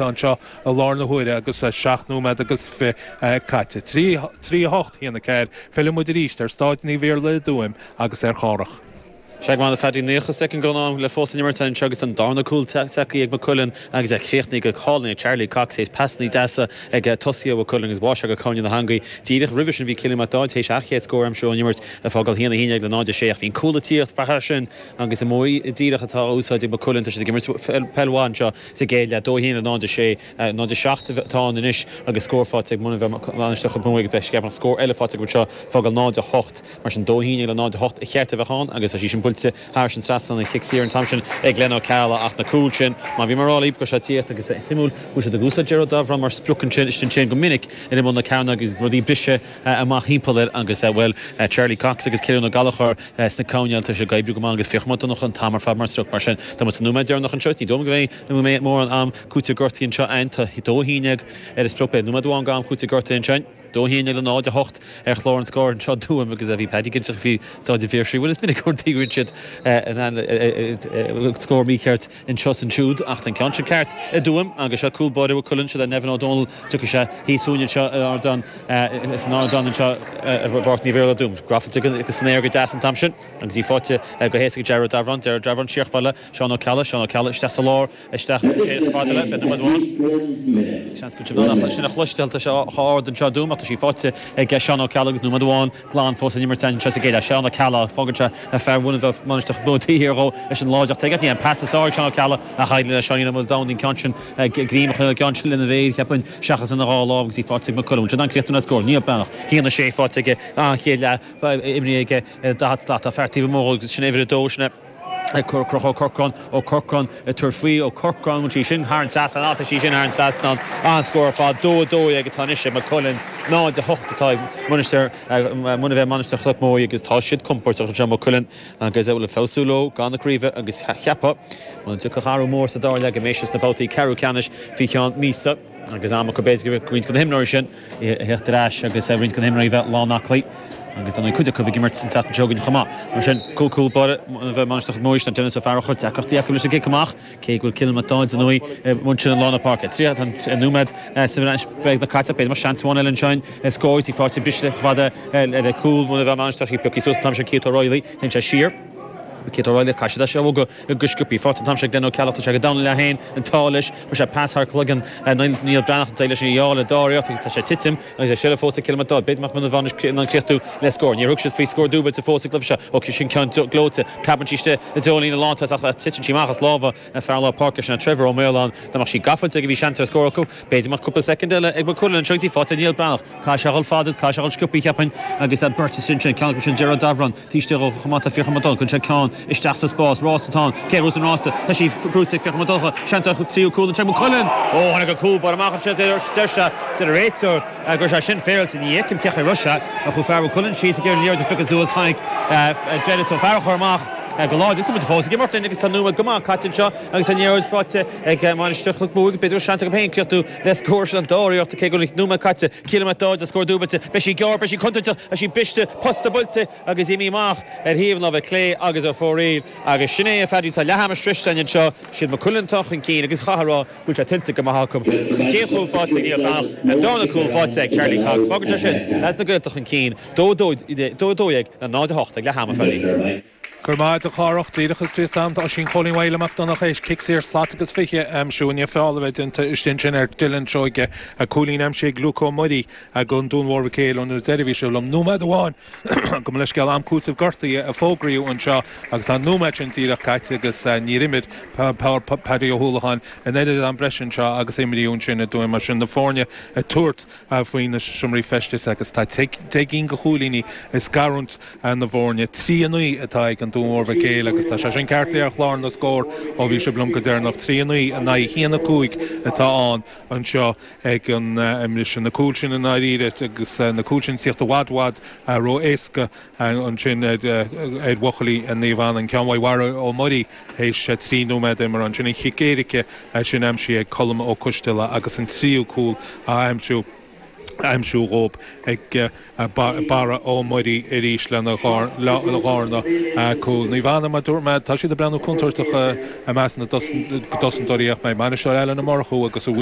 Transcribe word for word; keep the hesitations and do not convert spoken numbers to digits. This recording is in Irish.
atá anseo i láthair na huaire agus seacht nóiméad agus fiche caite. Trí trí a hocht, haon a ceathair, fillfidh muid arís ar Staid Naomh Iarlaith i dTuaim agus ar Chárthach. Sea go maith a Phaddy, naocha soicind den am le fós san imirt anseo agus an darna cúl tagtha ag Maigh Cuilinn agus é críochnaithe go hálainn ag Charlie Cox théis pasanna deasa ag tosaithe Mhaigh Cuilinn agus bháigh sé go cúinne na heangaí. Díreach roimhe sin bhí Cillian Mac Dáid théis a chéad scór a aimsiú ón imirt ag fágáil haon a haon déag le náid a sé ach bhí an cúl ag tíocht faiche sin agus an modh díreach atá á úsáid ag Maigh Cuilinn tá siad ag imirt peil mhaith anseo sa gcéad leath dó haon le náid a sé náid a seacht atá ann anois agus scór faighte ag Muine Mheá Mainistir Chnoc Muaidh beidh ceapaim scór eile faighte acu anseo fágáil náid a hocht mar sin dó haon déag le náid a hocht a cheart a bheith ann agus tá sí sin buailte thar an trasnán an chic saor an t-am sin ag Glenn Ó Ceallaigh ach na cúil sin má bhí mar go sé tíocht agus suimiúil go siad ag úsáid Gerard Davran mar sprioc ansin istigh sin go minic in imeall na cearna agus rudaí bise amach thimpeall air agus bhuel Charlie Cox agus Cillian Ó Gallchóir sna coirnéil tá sé ag oibriú go maith agus Fiachra Mac Donncha an t-am ar fad mar sprioc mar sin tá muid sa nóiméad deireanach anseo ní dóigh go mbeidh mórán am cúiteamh gortaithe anseo ann tá dó haon déag ar an sprioc beidh nóiméad amháin go am cúiteamh gortaithe ansin. Dó haon déag le náid a hocht ar chlár an scóir anseo Tuaim agus a bhí Paddy cinnte faoi Staid an Phiarsaigh. Bhuel is minic go dtuigeann siad scór mícheart anseo is ansiúd ach an ceann sin ceart i dTuaim agus seo cúl báire Mhaigh Cuilinn seo le Nevin O'Donnell tiocfaidh sé thíos fúinn anseo ardán san ardán anseo i bPáirc Naomh Iarlaith i dTuaim. Grafailte agus san aer go deas an t-am sin agus í faighte go héasca ag Gerard Davran, Gerard Davran siar fála Seán Ó Ceallaigh, Seán Ó Ceallaigh isteach sa lár isteach sé fada le beidh nóiméad amháin. Seans go bhfuil sin a chloisteáil tá sé ard anseo i dTuaim ach tá sí faighte ag Seán Ó Ceallaigh agus nóiméad amháin glan fós an imirt anseo sa gcéad Seán Ó Ceallaigh fágann sé fear Mhuine Mheá Mainistir Chnoc Muaidh dhó leis an láideacht aige ní an pas is ard Seán Ó Ceallaigh ach éirigh le Seáinín Ó Maoldomhnaigh an ceann sin greim a chur ceann sin lena bhéal cheapfainn seachas ina dhá lámh agus í faighte ag Maigh Cuilinn. Sin an críochtú na scór níl beannach haon a sé faighte aige an chéad leath imrithe aige daichead slat tá fear taobh amuigh agus sin uimhir a dó sin Conchúr Ó Corcráin Ó Corcráin tabhair faoi Ó Corcráin sí sin thar an trasnán tá sí sin thar an trasnán an scór ar fad dó a dó ag atá anois ag Maigh Cuilinn náid a hocht atá ag Mainistir Muine Mheá Mainistir Chnoc Muaidh agus tá siad compordach anseo Maigh Cuilinn agus bhfuil feabhsú leo gan na craoibhe agus cheapfá an dtiocfadh athrú mór sa dara leath go mbeidh siad sna babhtaí ceathrú ceannais faoi cheann míosa agus am acu b'fhéidir roinnt de na himreoirí sin theacht ar ais agus roinnt de na himreoirí bheith lánaclaí agus an cuid acu ag imirt san tseachtain seo chugainn chomh maith. Mar sin cúl cúl báire bheith Mainistir Chnoc Muaidh Denis Ó Fearchair deacrachtaí acu leis an gcic amach cé go bhfuil Cillian Mac Dáid nó muin sin an lán na páirce. Trí an nóiméad beag na caite b'fhéidir mar seans amháin eile ansin scór í faighte briste fada le cúl Muine Mheá Mainistir pioctha suas an t-am sin Keith O'Reilly téann sé siar. Keith O'Reilly caise sé go go sciobtha faighte an t-am sin Glenn Ó Ceallaigh sé go domhan le haon an tá leis chu sé pas thar cloigeann Níl Breathnach leis an dheála dáíocht tá sé titim agus é sile fós ag Cillian Mac Dáid B'fhéidir Muine Mheá an críochtú le scór. Níor thug siad faoi scór dúbailte fós ag seo ó sin ceann gleoite preabann sí i dtreo líne lántosach ach titeann sí amach as lámha fear lár páirce sin Trevor Ó Maoláin Tá sí gafa ag bhí seans ar scór acu B'fhéidir mar cúpla soicind eile ag Maigh Cuilinn seo í faighte Níl Breathnach Cá se fád cá se sciobtha cheapfainn agus an beirt sin sin ceann sin Gerard Davran Tíiste chumata Fiachra Mac Donncha sé ceann isteach sa spás rás atá cé an rása Tá sí brúite ag Fiachra Mac Donncha seans tríú cúl an Maigh Cuilinn ó tháinig go cúl bar amach an deir sé de réiteoir gur sé sin féilte ní fheicim cé raibh sé a chu fear Cuilinn síos ag ar de fiche suas tháinig Dennis Ó Fearchair amach go láidir tú fós ag imirt agus tá nóiméad go maith caite anseo agus an liathróid faighte ag Mainistir Chnoc Muaidh b'fhéidir seans go féin críochtú le scór sin an dáíocht cé go nóiméad caite Cillian Mac Dáid a scór dúbailte beidh sí gearr beidh sí contúirteach a sí briste posta buailte agus imithe amach ar thaobh láimhe clé agus a fóraíl agus sin é a Phaddy tá leath ama sroiste anseo siad Maigh Cuilinn atá chun cinn agus chaithfear a rá bhfuil sé tuillte go maith acu chéad chúl faighte ag Neil Breathnach an darna cúl faighte ag Charlie Cox Fágann sé sin leis na Gaeltacht chun cinn dó dó dó ag na náid a hocht ag leath ama Phaddy. Gur maith a Chárthach díreach is tríos am tá sin Cholín Whale Mac Donncha éis cic saor slat agus fiche aimsiú inné feall a bheith déanta istigh sin ar Dylan Seoige a cúilín aimsithe ag Luke Ó Muirí a gon Dún Mór Mhic Éil ón deireadh sé liom nóiméad amháin go leis scéal am cúiteamh gortaithe a fógraíodh anseo agus tá nóiméad sin díreach caite agus níor imir Paddy Ó hUallacháin an oiread am breise anseo agus imríodh sin i dTuaim mar sin na foirne ag tabhairt faoi na seomraí feistis agus tá deich gcinn de chúilíní ag scarúint na bhfoirne trí a naoi atá ag an Dún Mór Mhic Éil agus tá sé sin ceart ar chlár na scór ó bhí sé liom go deireanach trí a naoi in aghaidh haon a cúig atá ann anseo ag an imris na cúil sin in áiríre agus na cúil sin tíocht i bhfad bhfad ró-éasca ansin ar ar bhuachaillí Naomh Anna an ceann Mhara Ó Muirí théis trí nóiméad imeartha ansin an chic éirice sin aimsithe ag Colm Ó Coisteala agus an tríú cúl a aimsiú aimsiú dhób ag Barra Ó Muirí arís lena dharna cúl. Naomh Anna mar dúirt mé tá siad ag breathnú contúirteach i measc na dtosnóirí ach mé bainisteoir eile na Murchú agus a